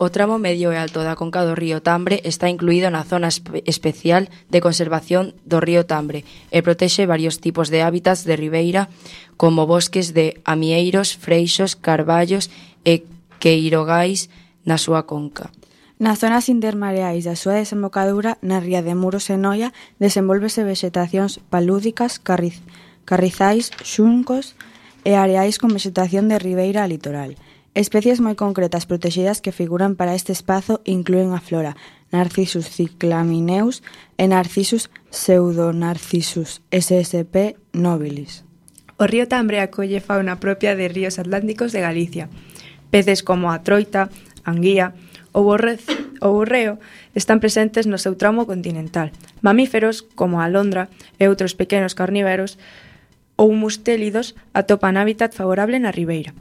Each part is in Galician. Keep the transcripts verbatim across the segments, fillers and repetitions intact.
O tramo medio e alto da conca do río Tambre está incluído na zona espe- especial de conservación do río Tambre e protexe varios tipos de hábitats de ribeira como bosques de amieiros, freixos, carballos e queirogais na súa conca. Nas zonas intermareais da súa desembocadura, na ría de Muros e Noia, desenvólvese vexetacións palúdicas, carriz, carrizais, xuncos e areais con vexetación de ribeira a litoral. Especies moi concretas protegidas que figuran para este espazo inclúen a flora Narcissus cyclamineus e Narcissus pseudonarcissus S S P nobilis. O río Tambre acolle fauna propia de ríos atlánticos de Galicia. Peces como a troita, a anguía ou o borreo están presentes no seu tramo continental. Mamíferos como a alondra e outros pequenos carnívoros ou mustélidos atopan hábitat favorable na ribeira.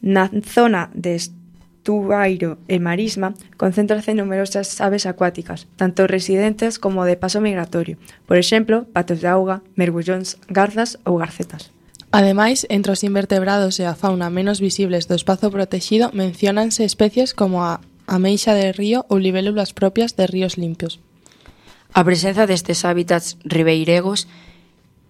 Na zona de estuario e marisma concéntrase numerosas aves acuáticas, tanto residentes como de paso migratorio, por exemplo, patos de auga, mergullóns, garzas ou garcetas. Ademais, entre os invertebrados e a fauna menos visibles do espazo protexido menciónanse especies como a ameixa de río ou libélulas propias de ríos limpios. A presenza destes hábitats ribeiregos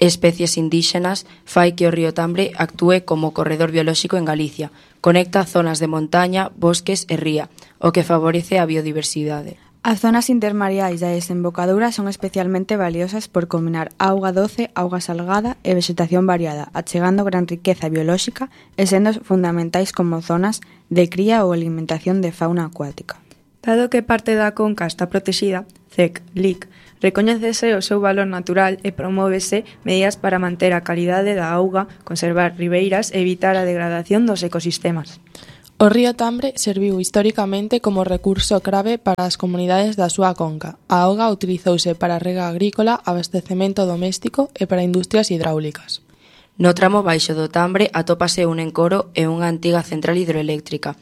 especies indígenas fai que o río Tambre actúe como corredor biolóxico en Galicia. Conecta zonas de montaña, bosques e ría, o que favorece a biodiversidade. As zonas intermareais da desembocadura son especialmente valiosas por combinar auga doce, auga salgada e vexetación variada, achegando gran riqueza biolóxica e sendo fundamentais como zonas de cría ou alimentación de fauna acuática. Dado que parte da conca está protegida, C E C, L I C, recoñécese o seu valor natural e promóvese medidas para manter a calidade da auga, conservar ribeiras e evitar a degradación dos ecosistemas. O río Tambre serviu históricamente como recurso clave para as comunidades da súa conca. A auga utilizouse para rega agrícola, abastecemento doméstico e para industrias hidráulicas. No tramo baixo do Tambre atópase un encoro e unha antiga central hidroeléctrica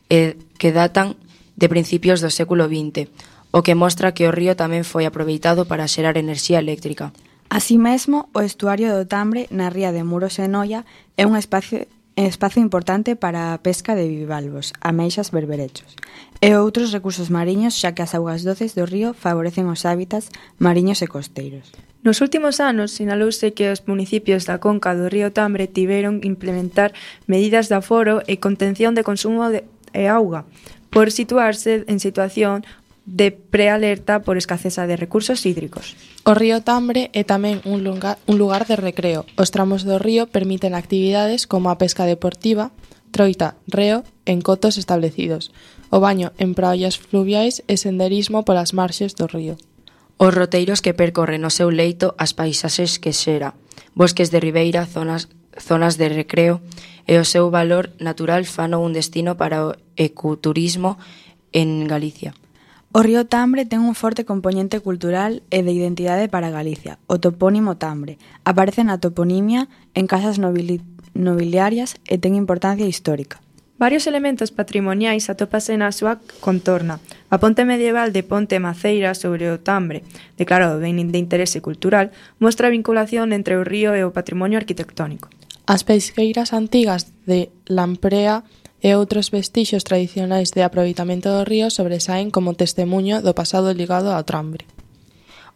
e que datan de principios do século vinte, o que mostra que o río tamén foi aproveitado para xerar enerxía eléctrica. Así mesmo, o estuario do Tambre na ría de Muros e Noia é un espacio espazo importante para a pesca de bivalvos, ameixas, berberechos e outros recursos mariños, xa que as augas doces do río favorecen os hábitats mariños e costeiros. Nos últimos anos, sinalouse que os municipios da conca do río Tambre tiveron que implementar medidas de aforo e contención de consumo de auga, por situarse en situación de prealerta por escaseza de recursos hídricos. O río Tambre é tamén un lugar, un lugar de recreo. Os tramos do río permiten actividades como a pesca deportiva, troita, reo, en cotos establecidos, o baño en praias fluviais e senderismo polas marxes do río. Os roteiros que percorren o seu leito as paisaxes que xera, bosques de ribeira, zonas, zonas de recreo e o seu valor natural fano un destino para o ecoturismo en Galicia. O río Tambre ten un forte componente cultural e de identidade para Galicia. O topónimo Tambre aparece na toponimia en casas nobili- nobiliarias e ten importancia histórica. Varios elementos patrimoniais atópase na súa contorna. A ponte medieval de Ponte Maceira sobre o Tambre, declarado ben de interese cultural, mostra a vinculación entre o río e o patrimonio arquitectónico. As pesqueiras antigas de Lamprea e outros vestixios tradicionais de aproveitamento do río sobresaen como testemuño do pasado ligado ao Tambre.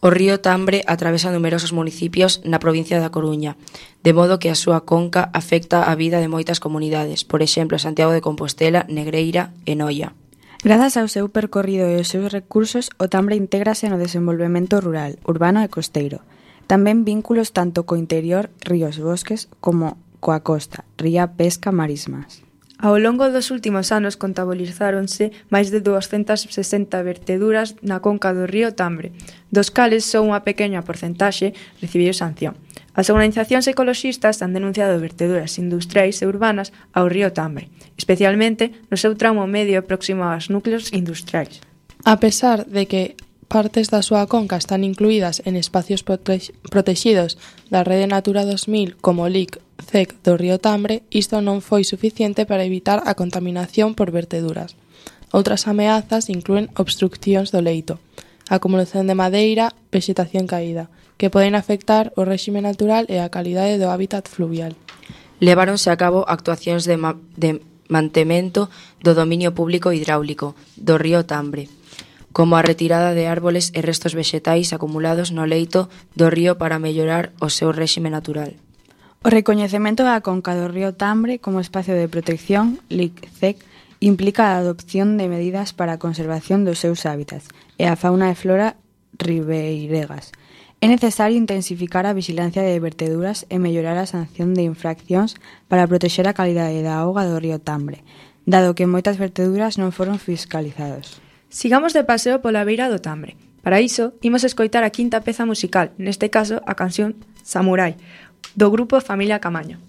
O río Tambre atravesa numerosos municipios na provincia da Coruña, de modo que a súa conca afecta a vida de moitas comunidades, por exemplo, Santiago de Compostela, Negreira e Noia. Grazas ao seu percorrido e aos seus recursos, o Tambre intégrase no desenvolvemento rural, urbano e costeiro. Tamén vínculos tanto co interior, ríos, bosques, como coa costa, ría, pesca, marismas. Ao longo dos últimos anos contabilizáronse máis de duascentas sesenta verteduras na conca do río Tambre, dos cales só unha pequena porcentaxe recibiu sanción. As organizacións ecoloxistas han denunciado verteduras industriais e urbanas ao río Tambre, especialmente no seu tramo medio próximo aos núcleos industriais. A pesar de que partes da súa conca están incluídas en espacios prote- protexidos da Rede Natura dos mil como L I C, C E C do río Tambre, isto non foi suficiente para evitar a contaminación por verteduras. Outras ameazas inclúen obstruccións do leito, acumulación de madeira, vexetación caída, que poden afectar o réxime natural e a calidade do hábitat fluvial. Leváronse a cabo actuacións de, ma- de mantemento do dominio público hidráulico do río Tambre, como a retirada de árboles e restos vexetais acumulados no leito do río para mellorar o seu réxime natural. O recoñecemento da conca do río Tambre como espacio de protección, L I C C E C, implica a adopción de medidas para a conservación dos seus hábitats e a fauna e flora ribeiregas. É necesario intensificar a vigilancia de verteduras e mellorar a sanción de infraccións para protexer a calidade da auga do río Tambre, dado que moitas verteduras non foron fiscalizados. Sigamos de paseo pola beira do Tambre. Para iso, imos escoitar a quinta peza musical, neste caso a canción Samurai, do grupo Familia Camaño.